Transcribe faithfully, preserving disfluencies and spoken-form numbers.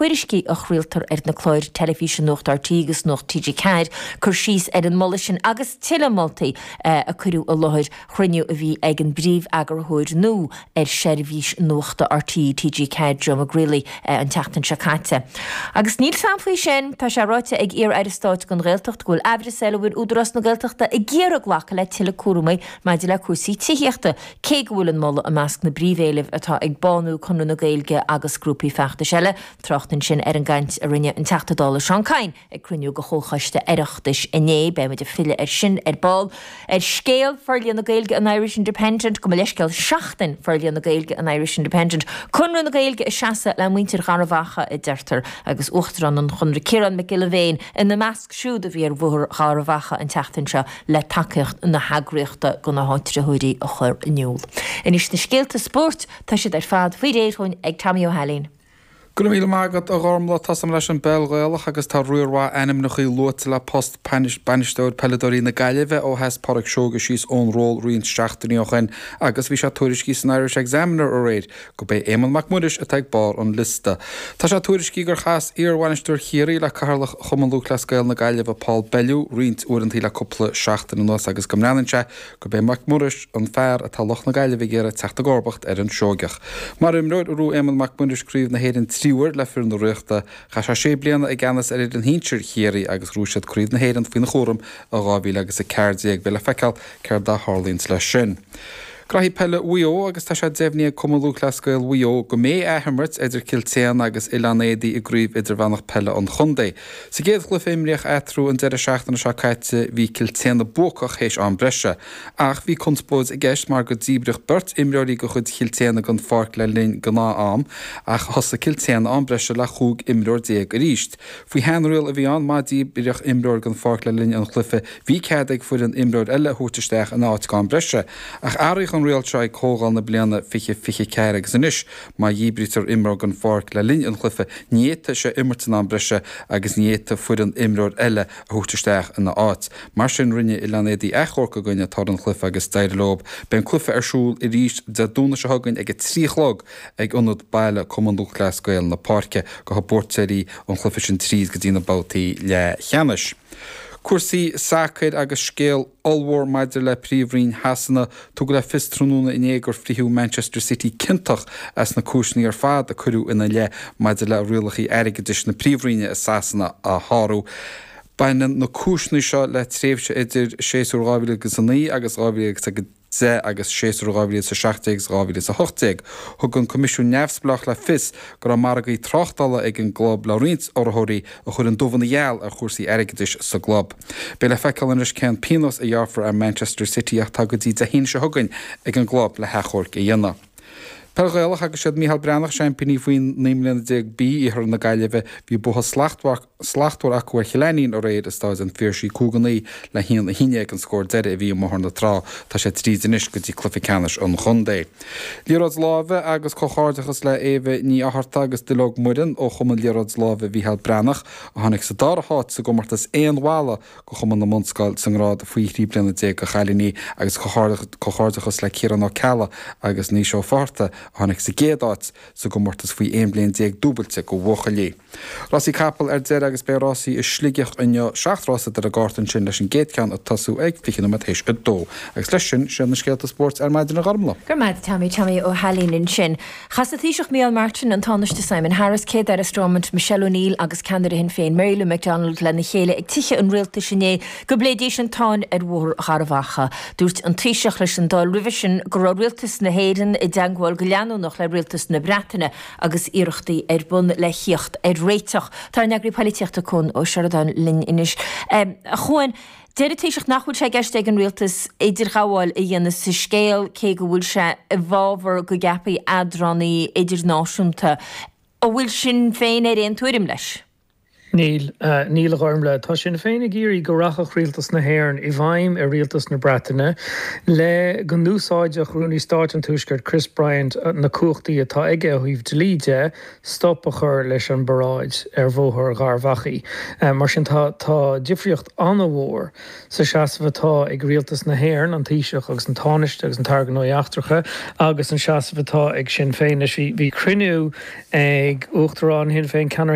Tuairiscí a chraoltar ar na cláir teilifíse Nuacht RTÉ agus Nuacht TG Ceathair cur síos ar an moladh sin agus tuilleadh moltaí a cuireadh i láthair chruinniú a bhí ag an bpríomh-eagarthóir nua ar sheirbhís nuachta RTÉ, TG Ceathair, Joe McGreely an tseachtain seo caite. Agus níl sam faoi sin, tá sé ráite ag iar-aire stáit don Ghaeltacht go bhfuil aimhreas air an bhfuil Údarás na Gaeltachta ag iarraidh glacadh le tuilleadh cúramaí maidir le cúrsaí tithíochta, cé go bhfuil an moladh i measc na bpríomhéilimh atá ag Bánú, Conradh na Gaeilge agus grúpaí feachtais eile. Trácht ansin ar an gcaint a rinne an Teachta Dála Seán Kyne ag cruinniú de Chomhchoiste Oireachtais inné. Beidh muid ag filleadh air sin ar ball. Ar scéal Forlíonadh na Gaeilge an Irish Independent, gabh mo leithscéal, Seachtain Forlíonadh na Gaeilge an Irish Independent, Conradh na Gaeilge ag seasamh le muintir Gharbh Achaidh, a deirtear, agus Uachtarán an Chonradh Ciarán Mac Giolla Bhéin ina measc siúd a bhí ar Bhóthar Gharbh Achaidh an tseachtain seo le tacaíocht na heagraíochta do na háitritheoirí a chur in iúl. Anois na scéalta spóirt, tá siad ar fad faoi réir dhúinn ag Tommy Ó hAilín. Go raibh míle maith agat a Ghormlaith. Tosóidh mé leis an bpeil Ghaelach agus tá riar mhaith ainmneacha luaite le post bainisteoir peileadóirí na Gaillimhe ó sheas Pádraic Seoige síos ón ról roinnt seachtainí ó shin agus bhí sé tuairiscithe san Irish Examiner aréir gurb é Éamonn Mac Muiris atá ag barr an liosta. Tá sé tuairiscithe gur chas iar-bhainisteoir Chiarraí le Cathaoirleach Chumann Lúthchleas Gael na Gaillimhe Paul Bellew roinnt uaireanta le cúpla seachtain anuas agus go mbreathnaíonn sé gurb é Mac Muiris an fear atá lucht na Gaillimhe ag iarraidh teacht i gcomharbacht ar an Seoigeach. Mar imreoir, bhuaigh Éamonn Mac Muiris Craobh na hÉireann trí huaire le foireann na Ríochta. Chaith sé sé bliana i gceannas ar fhoireann shinsir Chiarraí agus ghnóthaigh siad Craobh na hÉireann faoina chúram i dhá mhíle agus a ceathair déag. Beidh le feiceáil céard a tharlaíonns leis sin. Graithí peile Mhaigh Eo agus tá sé deimhnithe ag Cumann Lúthchleas Gael Mhaigh Eo go mbeidh athimirt idir Cill tSéadhna agus Oileán Éadaí i gCraobh Idirmheánach Peile an Chontae. Sa gcéad chluiche a imríodh eatarthu an deireadh seachtaine seo caite bhí Cill tSéadhna buacach théis am breise. Ach bhí conspóid i gceist mar go díbríodh beirt imreoirí de chuid Chill tSéadhna den pháirc le linn gnáth-am ach thosaigh Cill tSéadhna am breise le chúig imreoir déag arís. Faoi sheanriail a bhí ann, má díbríodh imreoir den pháirc le linn an chluiche bhí cead ag foireann imreoir eile a thabhairt isteach ina áit ag am breise. Ach athraíodh an riail seo ag comhdháil na bliana fiche fiche ceathair agus anois má dhíbrítear imreoir den pháirc le linn an chluiche ní fhéadfaidh sé imirt in am breise agus ní fhéadfaidh foireann imreoir eile a thabhairt isteach ina áit. Mar sin rinne Oileán Éadaí achomharc i gcoinne toradh an chluiche agus d'éirigh leo. Beidh an cluiche ar siúl arís Dé Domhnaigh seo chugainn ag a trí a chlog ag Ionad Baile Cumann Lúthchleas Gael na Páirce. Gabhfaidh buaiteoirí an chluiche sin tríd go dtí na babhtaí leathcheannais. Cúrsaí sacair agus scéal ollmhór maidir le Príomhroinn Shasana. Tugadh le fios tráthnóna inné gur frítheadh Manchester City ciontach as na cúiseanna ar fad a cuireadh ina leith maidir le rialacha airgeadais na Príomhroinne i Sasana a shárú. Baineann na cúiseanna seo le tréimhse idir séasúr dhá mhíle agus a naoi agus dhá mhíle agus a deich agus séasúr dhá mhíle is a seacht déag agus dhá mhíle is a hocht déag. Thug an Coimisiún Neamhspleách le fios go raibh margaí tráchtála ag an gclub le roinnt urraitheoirí a chuir an dubh ina gheal ar chúrsaí airgeadais sa gclub. Beidh le feiceáil anois cén pionós a ghearrfar ar Manchester City ach tá go dtí Dé hAoine seo chugainn ag an gclub le hachomharc a dhéanamh. Peil Ghaelach agus siad Micheál Breathnach seaimpíní faoi naoi mbliana déag B Iarthar na Gaillimhe. Bhí bua slachtmhar slachtmhar acu ar Chill Ainnín aréir i Stáid an Phiarsaigh cúig a naoi le haon a haon déag an scór deiridh a bhí i mBóthar na Trá. Tá sé tríd anois go dtí cluiche ceannais an chontae. Liathróid láimhe agus comhghairdeachas le Éabha Ní Fhátharta agus Duilleog Muireann ó Chumann Liathróid Láimhe Mhícheál Breathnach a tháinig sa dara háit sa gcomórtas aon bhalla do Chumann na mBunscol sa ngrád faoi thrí bliana déag do chailíní agus comhghairdeachas le Ciarán Ó Ceallaigh agus Naoise Ó Fátharta a tháinig sa gcéad áit sa gcomórtas faoi aon bhliain déag dúbailte do bhuachaillí. Rásaí capall ar deireadh agus beidh rásaí i Sligeach inniu, seacht rása ar an gcárta ansin leis an gcéad cheann ag tosú ag fiche nóiméad théis a dó. Agus leis sin, sin na scéalta spóirt ar maidin a Ghormlaith. Go raibh maith agat Tommy, Tommy Ó hAilín ansin. Chas an Taoiseach Micheál Martin, an Tánaiste Simon Harris, Céad-Aire Stormont Michelle O'Neill agus ceannaire Shinn Féin Mary Lou McDonald lena chéile ag Tithe an Rialtais inné go bpléidís an tsáinn ar Bhóthar Gharbh Achaidh. Dúirt an Taoiseach leis an Dáil roimhe sin go raibh rialtas na hÉireann i dteagmháil go leanúnach le rialtas na Breataine agus iarrachtaí ar bun le theacht ar réiteach. Tá ár n-eagraí polaitíochta Cuan Ó Seireadáin linn anois. A Chuain, deir an Taoiseach nach bhfuil sé i gceist ag an rialtas idirghabháil a dhéanamh sa scéal cé go bhfuil sé i bhfabhar go gceapfaí eadránaí idirnáisiúnta. An bhfuil Sinn Féin ar aon tuairim leis? Níl, níl a Ghormlaith. Tá Sinn Féin ag iarraidh go rachadh Rialtas na hÉireann i bhfeidhm ar Rialtas na Breataine le go n-úsáidfeadh Rúnaí Stáit an Tuaiscirt Chris Bryant na cumhachtaí atá aige ó thaobh dlí de stop a chur leis an bparáid ar Bhóthar Gharbhachaidh. Mar sin tá tá difríocht an-mhór sa seasamh atá ag Rialtas na hÉireann, an Taoiseach agus an Tánaiste agus an tAire Gnóthaí Eachtracha, agus an seasamh atá ag Sinn Féin. Anois bhí cruinniú ag Uachtarán Shinn Féin, ceannaire